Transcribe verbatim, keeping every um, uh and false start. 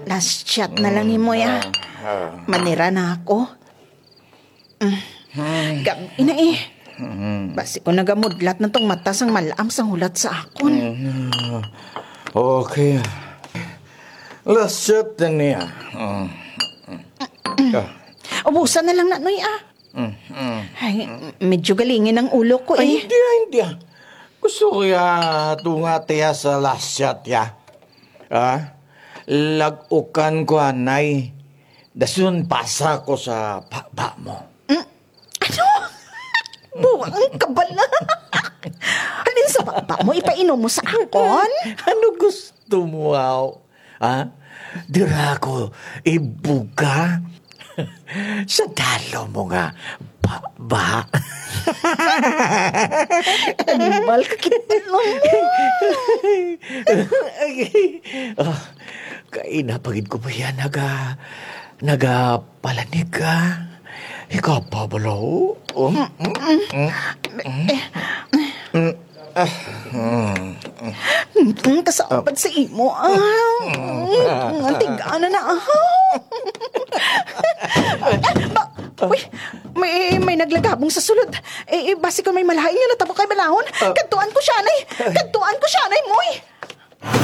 Last shot na lang ni Moy, ah. Manira na ako. Mm. Gab-i na eh. Basi kon nagamudlat na tong mata sang mal-am sang hulat sa akon. Okay. Last shot na niya. Ubusa na lang na, Noy, ah. Ay, medyo galingi na ang ulo ko eh. Ay, hindi, ah, hindi, ah. Gusto ko ya tunga tiya sa last shot ya. Ah? Lag-ukan ko anay. Dason pasa ko sa baba mo. Mm. Ano? Buang ka bala. Halin sa baba mo, ipainom mo sa akon? Ano gusto mo, aw? Ha? Dira ko ibuga sa dalo mo nga baba. Animal ka kita, no? Ah, kaina pa gid ko ba yan naga-, nagapalanig ka? Ikaw pa bala, oh. Oh, mm, mm, mm, mm. Ah, mm, mm. Mm, kasapad sa imo, ah. Mm, ang tig-ana na, ah. Ba, uy, may, may naglagabong sa sulod. Eh, eh, basi kon may malain nga natabo kay balahon. Ah. Kadtuan ko siya, anay. Kadtuan ko siya, anay, Moy.